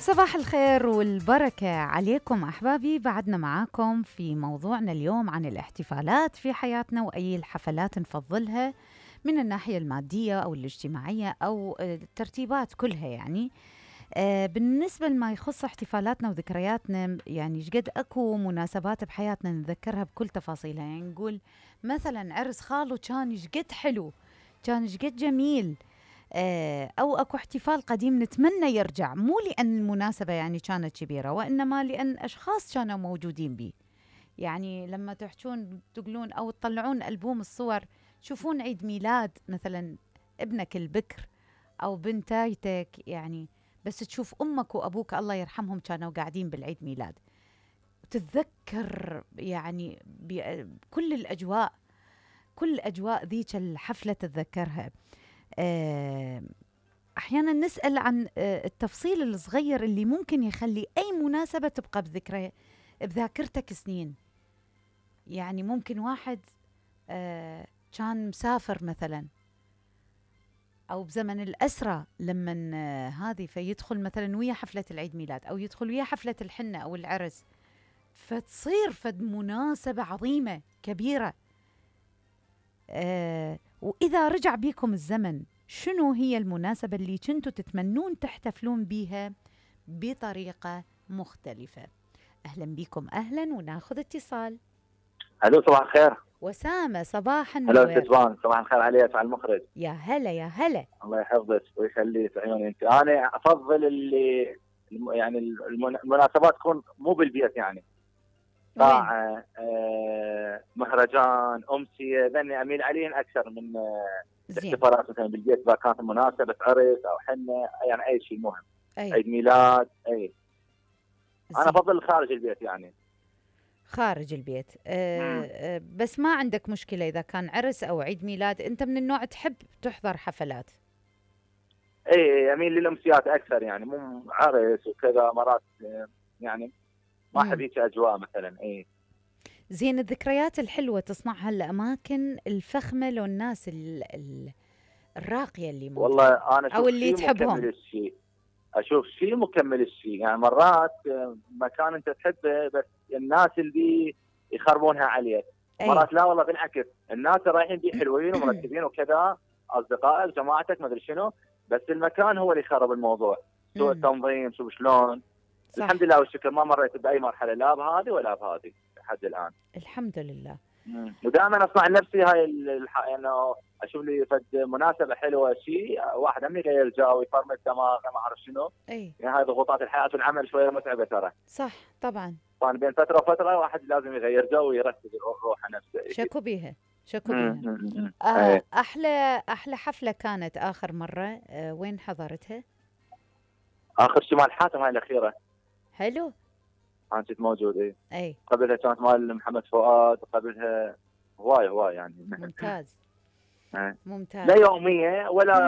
صباح الخير والبركة عليكم أحبابي. بعدنا معاكم في موضوعنا اليوم عن الاحتفالات في حياتنا وأي الحفلات نفضلها من الناحية المادية أو الاجتماعية أو الترتيبات كلها يعني. بالنسبة لما يخص احتفالاتنا وذكرياتنا، يعني شقد أكو مناسبات بحياتنا نذكرها بكل تفاصيلها. يعني نقول مثلا عرس خالو كان شقد حلو، كان شقد جميل، أو أكو احتفال قديم نتمنى يرجع، مو لأن المناسبة يعني كانت كبيرة، وإنما لأن أشخاص كانوا موجودين بيه. يعني لما تحجون تقولون أو تطلعون ألبوم الصور، تشوفون عيد ميلاد مثلا ابنك البكر أو بنتايتك، يعني بس تشوف أمك وأبوك الله يرحمهم كانوا قاعدين بالعيد ميلاد، تتذكر يعني كل الأجواء، كل أجواء ذيك الحفلة تتذكرها. أحيانا نسأل عن التفصيل الصغير اللي ممكن يخلي أي مناسبة تبقى بذاكرتك سنين. يعني ممكن واحد كان مسافر مثلا، أو بزمن الأسرة لما هذه فيدخل مثلا ويا حفلة العيد ميلاد، أو يدخل ويا حفلة الحنة أو العرس، فتصير فد مناسبة عظيمة كبيرة. وإذا رجع بيكم الزمن، شنو هي المناسبة اللي كنتوا تتمنون تحتفلون بيها بطريقة مختلفة؟ أهلا بيكم، أهلا، وناخذ اتصال. الو صباح الخير. وسامة صباح هلا النور. ستوان، صباح الخير عليك على المخرج. يا هلا يا هلا. الله يحفظك ويخليك عيوني انت. انا افضل اللي يعني المناسبات تكون مو بالبيت، يعني قاعه، مهرجان، امسيه، ذني اميل عليهم اكثر من الاحتفالات مثلا بالبيت. اذا كانت مناسبه عرس او حنه، يعني اي شيء مهم، عيد ميلاد، اي انا افضل خارج البيت يعني. خارج البيت. بس ما عندك مشكلة إذا كان عرس أو عيد ميلاد؟ أنت من النوع تحب تحضر حفلات؟ اي اميل للامسيات اكثر، يعني مو عرس وكذا مرات، يعني ما احب هيك اجواء مثلا. اي زين، الذكريات الحلوة تصنعها الأماكن الفخمة لو الناس الراقية اللي موجودة، والله انا أو اللي تحبهم. مكمل الشيء، اشوف شيء مكمل الشيء. يعني مرات مكان انت تحبه بس الناس اللي يخربونها عليك. مرات لا والله بالعكس، الناس رايحين بيه حلوين ومرتبين وكذا، اصدقائك جماعتك ما ادري شنو، بس المكان هو اللي يخرب الموضوع. سوء التنظيم، شوف شلون. صح. الحمد لله والشكر ما مريت باي مرحله لا بهذه ولا بهذه لحد الان، الحمد لله. ودائما اصنع لنفسي هاي انه اشوف لي فد مناسبه حلوه، شيء واحد هم يغير جو ويفرمل دماغه ما اعرف شنو. يعني هاي ضغوطات الحياه والعمل شويه متعبه ترى. صح طبعا. طبعا بين فتره وفتره واحد لازم يغير جو ويركز روحه نفسه. شكو بيها، شكو بيها. احلى حفله كانت اخر مره وين حضرتها؟ اخر شيء مال حاتم، هاي الاخيره. حلو. انا كنت موجود. اي قبلها كانت مال محمد فؤاد، وقبلها هواي يعني. ممتاز. ممتاز. لا يوميه ولا